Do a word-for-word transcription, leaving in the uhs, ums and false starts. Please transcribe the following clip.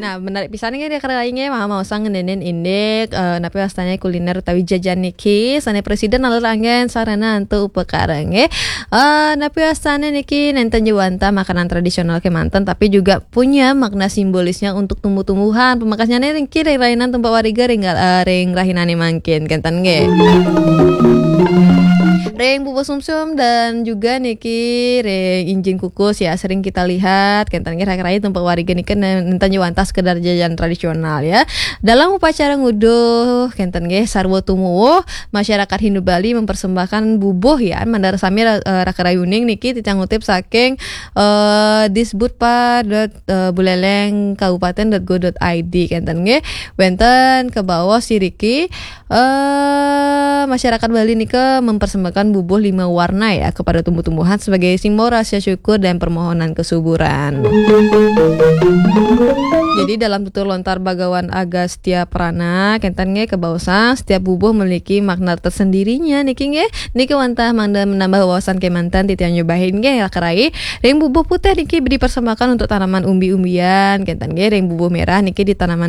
Nah, menarik pisan nggih, raka rai nggih, maha maosang ngeninin indik, eh, napi wastane kuliner utawi jajan niki, sane presiden naler anggen sarana antuk upakara nggih. Eh, napi wastane niki nenten ja wantah makanan tradisional kemanten, tapi juga punya makna simbolisnya untuk tumbuh-tumbuhan. Pamekasnyane niki ring rainan tumpak wariga ring, eh, ring rahinane mangkin, kenten nggih. Ring bubuh sumsum dan juga niki ring injing kukus ya, sering kita lihat, kenten nggih, raka rai tumpak wariga niki nen-, nenten ja wantah sekedar jajan tradisional ya. Dalam upacara nguduh, kenten nggih, sarwa tumuwuh, masyarakat Hindu Bali mempersembahkan bubuh ya, mandar sami ra-, eh, raka rai uning niki titiang ngutip saking, eh, disbudpa dot, eh, buleleng kabupaten dot go dot I D, kenten nggih. Wenten kabaos iriki, eh, masyarakat Bali nika mempersembahkan bubuh lima warna ya kepada tumbuh-tumbuhan sebagai simbol rasa syukur dan permohonan kesuburan. Jadi dalam tutur lontar Bagawan Agastya Prana, kenten nggih, kabaosang setiap bubuh memiliki makna tersendirinya niki nggih. Niki wantah mangda menambah wawasan kemanten, titiang nyobain nggih, raka rai. Ring bubuh putih niki dipersembahkan untuk tanaman umbi-umbian, kenten nggih. Ring bubuh merah niki ditanaman